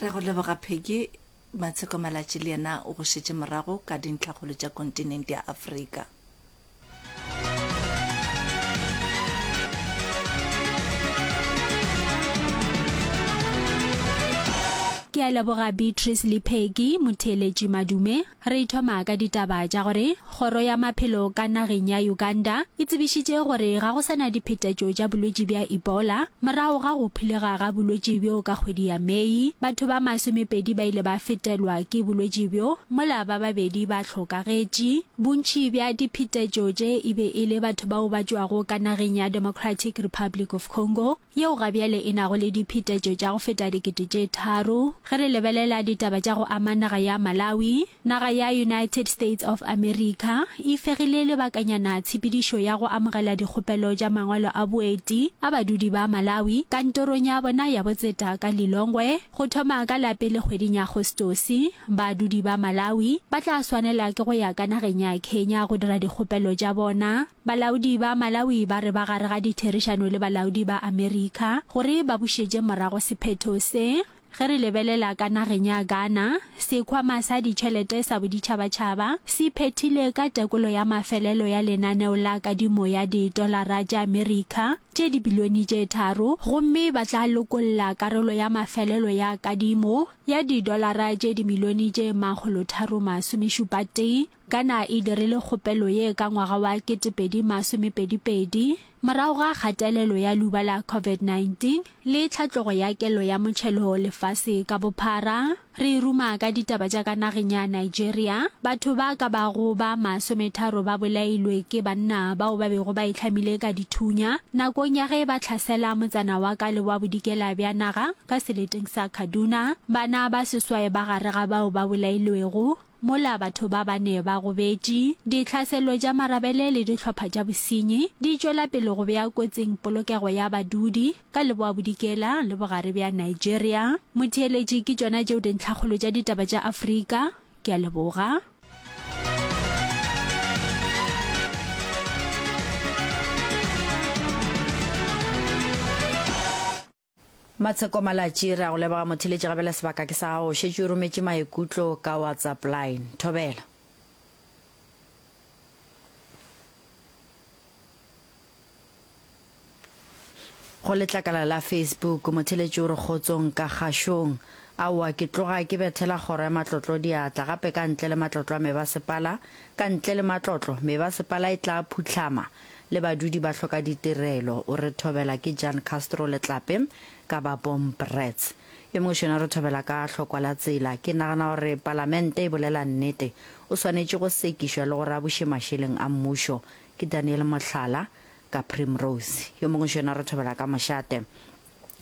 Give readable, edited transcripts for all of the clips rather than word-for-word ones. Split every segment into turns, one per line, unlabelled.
Re go leboga Peggy. Matsheko Malatji le yena o go šetše morago ka dintlhakgolo tša kontinente ya Afrika.
Ke a leboga Beatrice le Peggy, motheeletši Madume. Re thoma ka ditaba tša gore Kgoro ya Maphelo ka nageng ya Uganda e tsebišitše gore ga go sa na diphetetšo tša bolwetši bja Ebola morago ga go phulega ga bolwetši bjo ka kgwedi ya Mei. Batho ba masomepedi ba ile ba fetelwa ke bolwetši bjo mola ba babedi ba hlokagetše. Bontši bja diphetetšo tše e be e le batho bao ba tšwago ka nageng ya Democratic Republic of Congo, yeo ga bjale e nago le diphetetšo tša go feta 3000. Ge re lebelela ditaba tša go ama naga ya Malawi, naga ya United States of America e fegile lebakanyana tshepedišo ya go amogela dikgopelo tša mangwalo a boeti a badudi ba Malawi kantorong ya bona ya botseta ka Lilongwe. Go thoma ka la pele kgweding ya Agostose, badudi ba Malawi ba tla swanela ke go ya ka nageng ya Kenya go dira dikgopelo tša bona. Balaodi ba Malawi ba re ba gare ga ditherišano le balaodi ba Amerika gore ba bušetše morago sephetho se. Ge re lebelela ka nageng ya Ghana, Sekhwama sa Ditšhelete sa Boditšhabatšhaba se phethile ka tekolo ya mafelelo ya lenaneo la kadimo ya ditolara tša Amerika tše dibilione tše tharo gomme ba tla lokolla karolo ya mafelelo ya kadimo ya didolara tše dimilione tše makgolotharomasomešupatee Ghana e dirile kgopelo ye ka ngwaga wa 2022 morago ga kgatelelo ya leuba la COVID-19 le tlhatlogo ya kelo ya motšhelo lefase ka bophara. Re ruma ka ditaba tša ka nageng ya Nigeria, batho ba ka bago ba masometharo ba bolailwe ke banna bao ba bego ba itlhamile ka dithunya nakong ya ge ba hlasela motsana wa ka leboa-bodikela bja naga ka seleteng sa Kaduna. Bana ba seswai ba gare ga bao ba bolailwego. Mola batho ba bane ba gobetše, ditlhaselo tša marabele le dihlopha tša bosenyi di tšwela pele go bea kotsing polokego ya badudi ka leboa-bodikela le bogare bja Nigeria. Motheeletši, ke tšona tšeo dintlhakgolo tša ditaba tša Afrika. Ke a leboga.
Matsheko Malatji, re a go leboga motheeletši gabjale sebaka ke sa gago, o šetše o rometše maikutlo ka WhatsApp line. Thobela. Go letlakala la Facebook, motheeletši o re kgotsong ka kgašong. Aowa ke tloga ke bethela kgoro ya matlotlo diatla gape ka ntle le matlotlo a mebasepala, ka ntle le matlotlo mebasepala e tla phuhlama le badudi ba hloka ditirelo. O re thobela ke Jan Castro Letlape ka ba Bombrets. Yo mongwe šona re thobela ka hlokwa la tsela. Ke nagana gore palamente e bolela nnete. O swanetše go sekišwa le gore a buše mašeleng a mmušo. Ke Daniel Mohlala ka Primrose. Yo mongwe šona re thobela ka mošate.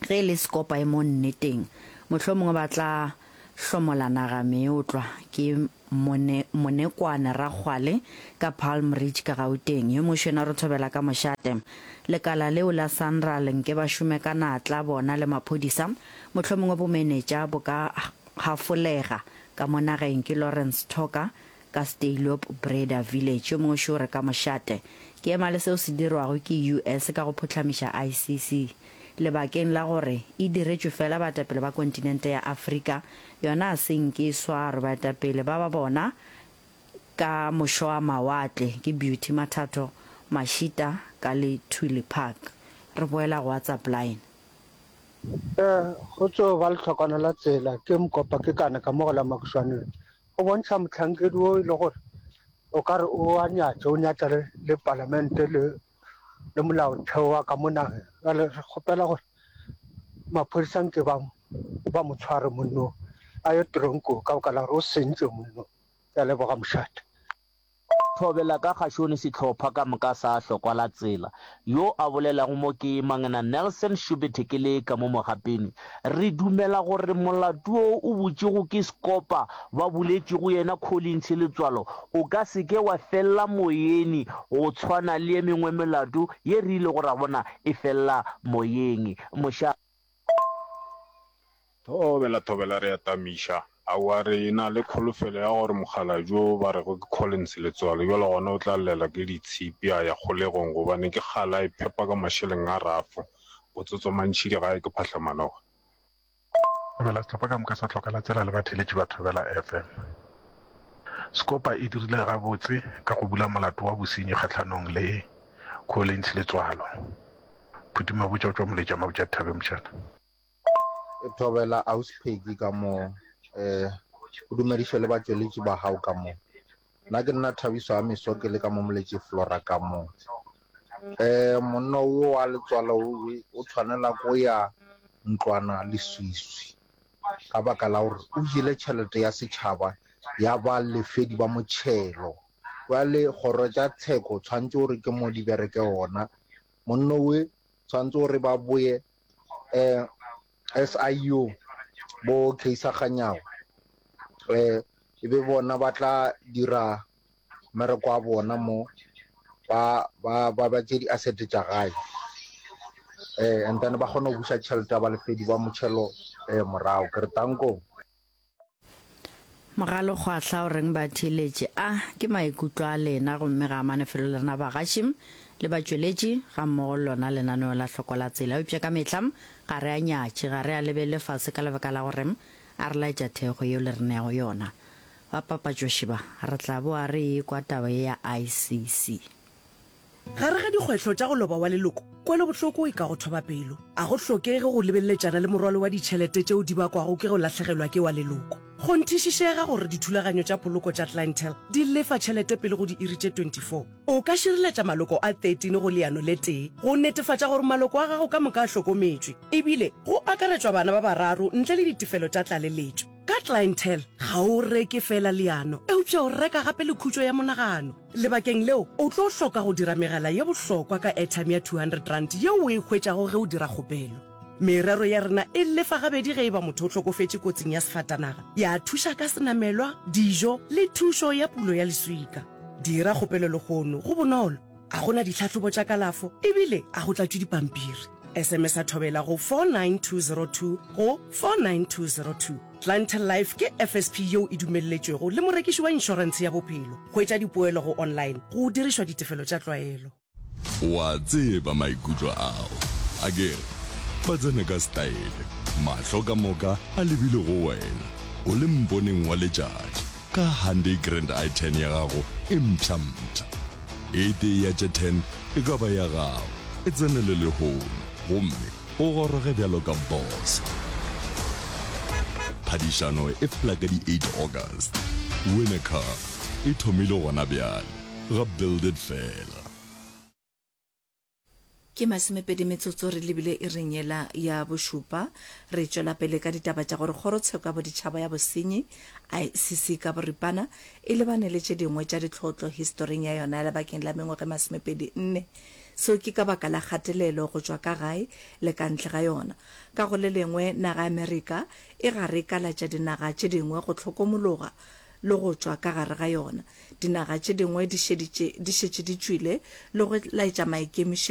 Ge e le Sekopa e mo nneteng. Mohlomongwe ba tla hlomola naga meotlwa. Ke Mone, Monekwane Rakgwale ka Palm Ridge ka Gauteng. Yo mongwe šona re thobela ka mošate. Lekala leo la Sanral nke ba šome ka natla bona le maphodisa, mohlomongwe bomenetša bo ka hafolega ka mo nageng. Ke Lawrence Thoka ka Steyloop Breda Village. Yo mongwe šo re ka mošate. Ke ema le seo se dirwago ke US ka go phuhlamiša ICC. Lebakeng la gore e diretšwe fela baetapele ba kontinente ya Afrika, yona a se nke e swarwe. Baetapele ba ba bona ka mošoamawatle ke Beauty Mathatho Mashita ka Lethuli Park. Re boela go WhatsApp line.
Ee, go tšo ba lehlokwana la tsela ke mokopa ke kana ka mo go la Makušwaneng. Go bontšha mohlankedi wo e le gore o ka re o a nyatša, o nyatša le, le palamente le le molaotheo wa ka mo nageng. Bjale re kgopela gore maphodisa nke ba ba mo tshware monno a ye tronkong ka baka la gore o sentše monno. Ke a leboga mošate.
Thobela ka kgašone sehlopha ka moka sa Hlokwa la Tsela. Yo a bolelago mo ke Mangena Nelson Shubete ke le ka mo Mogapeni. Re dumela gore molato wo o butšego ke Scopa ba buletšego yena Collins Letswalo o ka se ke wa fella moyeni go tshwana le ye mengwe melato ye re ilego ra bona e fella moyeng. Moša.
Thobela, thobela, re a tamiša. Aowa, re na le kholofelo ya gore mokgalabje wo ba rego ke Collins Letswalo bjale gona o tla llela ke ditshipi a ya kgolegong gobane ke kgale a iphepa ka mašeleng a rafo. Botsotso mantšhidi gae ke phahlamanoga.
Thobela sehlopha ka moka sa Hloka la Tsela le batheeletši ba Thobela FM. Scopa e dirile gabotse ka go bula molato wa bosenyi kgahlanong le Collins Letswalo. Phuti Mabotja o tšwa Moletša Mabotja Thabeng Mošana.
Thobela Ausi Peggy ka mo eh o dumediše le batšweletši ba gago ka mo. Nna ke nna Thabiso Amiso ke le ka mo Moletši Flora ka mo. Eh monna wo wa letswalo o tshwanela ko ya ntlwana leswiswi ka baka la gore o jele tšhelete ya setšhaba ya ba lefedi ba motšhelo. Bjale kgoro tša tsheko tshwanetse gore ke mo di bereke gona. Monna we tshwanetse gore ba boye eh SIU bo Kaiser Kganyago eh e be bona ba tla dira mmereko wa bona mo ba ba ba ba tše di-asset tša gae eh and then ba kgone go buša tšhelete ya balefedi ba motšhelo eh morago ke re tanko
Mogalokgwahla o reng batheeletši? A ke maikutlo a lena gomme ga a mane felo le rena bagaši le batšweletši gammogo le lona lenaneo la Hloko la Tsela. Eupša ka mehla ga re a nyatše, ga re a lebelele fase ka lebaka la gore a re laetša thekgo yeo le re neago yona. Ba papatšoši ba, re tla boa re ekwa taba ye ya ICC.
Gare ga dikgwetlho tša go loba wa leloko, kwelobohloko e ka go thoba pelo. A go hlokege go lebeleletšana le morwalo wa ditšhelete tšeo di bakwago ke go lahlegelwa ke wa leloko. Kgonthišišega gore dithulaganyo tša poloko tša Clientele di lefa tšhelete pele go diiri tše 24. O ka šireletša maloko a 13 go leano le tee go netefatša gore maloko a gago ka moka a hlokometšwe, ebile go akaretšwa bana ba bararo ntle le ditefelo tša tlaleletšo. Ka Clientele, ga o reke feela leano, eupša o reka gape le khutšo ya monagano. Lebakeng leo, o tlo hloka go dira megala ye bohlokwa ka airtime ya R200 yeo o e hwetšago ge o dira kgopelo. Merero ya rena e lefa gabedi ge e ba motho o hlokofetše kotsing ya sefatanaga, ya thuša ka senamelwa, dijo le thušo ya pulo ya leswika. Dira kgopelo lehono, go bonolo, a go na ditlhahlobo tša kalafo ebile a go tlatšwe dipampiri. SMS-a Thobela go 49202 go 49202. Clientele Life ke FSP yeo e dumelletšwego le morekiši wa inšorentshe ya bophelo. Hwetša dipoelo go online go dirišwa ditefelo tša tlwaelo.
O a tseba maikutlo ao, akere? Ba tsena ka setaele, mahlo ka moka a lebile go wena, o le mponeng wa letšatši, ka Hyundai Grand i10 ya gago e mpsha-mpsha. E tee ya tše 10 e ka ba ya gago. E tsenele lehono gomme O goroge bjalo ka boss. Phadišano e fela ka di 8 August. Win a car e thomile gona bjale ga Build It Fela.
Ke masomepedi metsotso re lebile iring yela ya bošupa. Re tšwela pele ka ditaba tša gore Kgorotsheko ya Boditšhaba ya Bosenyi, ICC ka boripana, e lebane le tše dingwe tša ditlhotlo historing ya yona ya lebakeng la mengwaga e masomepedi nne. Seo ke ka baka la kgatelelo go tšwa ka gae le ka ntle ga yona. Ka go le lengwe, naga ya Amerika e gare e kalatša dinaga tše dingwe go hlokomologa le go tšwa ka gare ga yona. Dinaga tše dingwe di šeditše di šetše di tšwile le go laetša maikemišetšo.